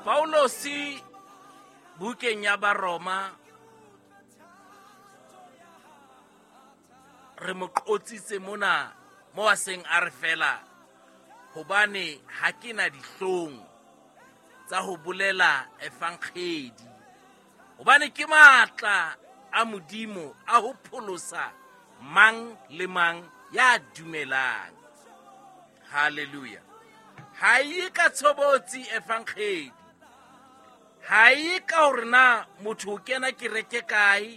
Paulosi bukeng ya Baroma re mo qotsitse mona mo a seng a re fela hobane ha ke na dihlong tsa ho bolela efankgedi hobane ke matla a Modimo a ho pholosa mang le mang ya dumelang. Hallelujah. Ha e ka tshobotsi efankgedi, ha e ka hore na motho o kena kereke kae,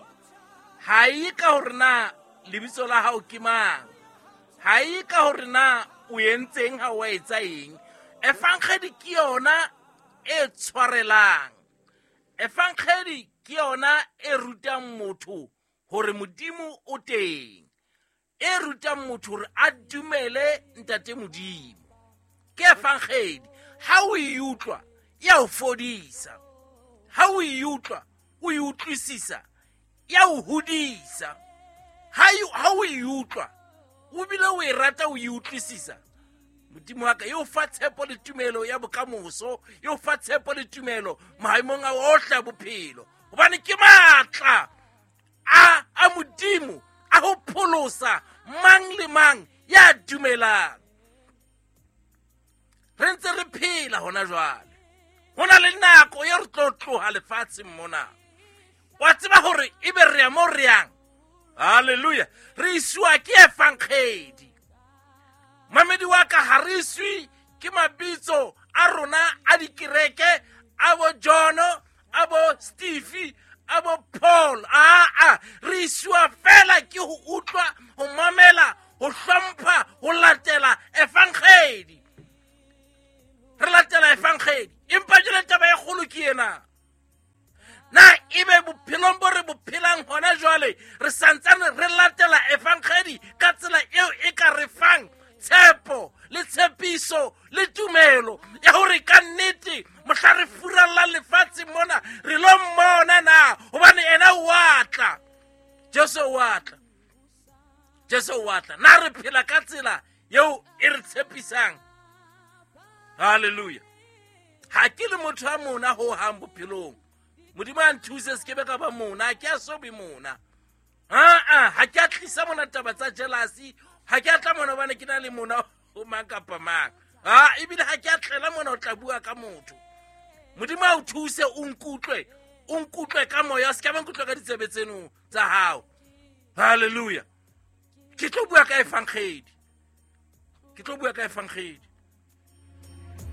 ha e ka hore na lebitso la hao ke mang, ha e ka hore na o entseng ha o etsa eng. Efankgedi ke yona e tshwarelang. Efankgedi ke yona e rutang motho hore Modimo o teng, e rutang motho hore a dumele Ntate Modimo. Ke efankgedi. Ha o e utlwa, ya o fodisa. Ha o e utlwa, o e utlwisisa, ya o hodisa. Ha o e utlwa, o bile o e rata, o e utlwisisa, Modimo wa ka e o fa tshepo le tumelo ya bokamoso, e o fa tshepo le tumelo maemong a ohle a bophelo, hobane ke matla a Modimo a ho pholosa mang le mang ya dumelang. Re ntse re phela hona jwale, ho na le nako e re tlo tloha lefatsheng mona. Wa tseba hore ebe re ya mo re yang. Hallelujah. Re isiwa ke efankgedi. Mamedi wa ka, ha re iswe ke mabitso a rona a dikereke, a bo John, a bo Steve, a bo Paul. Aa, re isiwa fela ke ho utlwa, ho mamela, ho hlompha, ho latela efankgedi. Re latela efankgedi. Empa jwale taba e kgolo ke ena. Na ebe bophelong bo re bo phelang hona jwale re santsane re latela efankgedi ka tsela eo e ka re fang tshepo le tshepiso le tumelo ya hore ka nnete mohla re furalla lefatshe mona re lo mmona na, hobane ena o a tla. Jesu o a tla. Jesu o a tla. Na re phela ka tsela eo e re tshepisang? Hallelujah. Ha ke le motho a mona ho hang bophelong, Modimo a nthuse se ke be ka ba mona, ha ke a so be mona. Aa, ha ke a tlisa mona taba tsa jealousy, ha ke a tla mona hobane ke na le mona ho mang kapa mang. Ha, ebile ha ke a tlela mona ho tla bua ka motho. Modimo a o thuse, o nkutlwe, o nkutlwe ka moya, o se ke ba nkutlwe ka ditsebe tseno tsa hao. Hallelujah. Ke tlo bua ka efankgedi. Ke tlo bua ka efankgedi.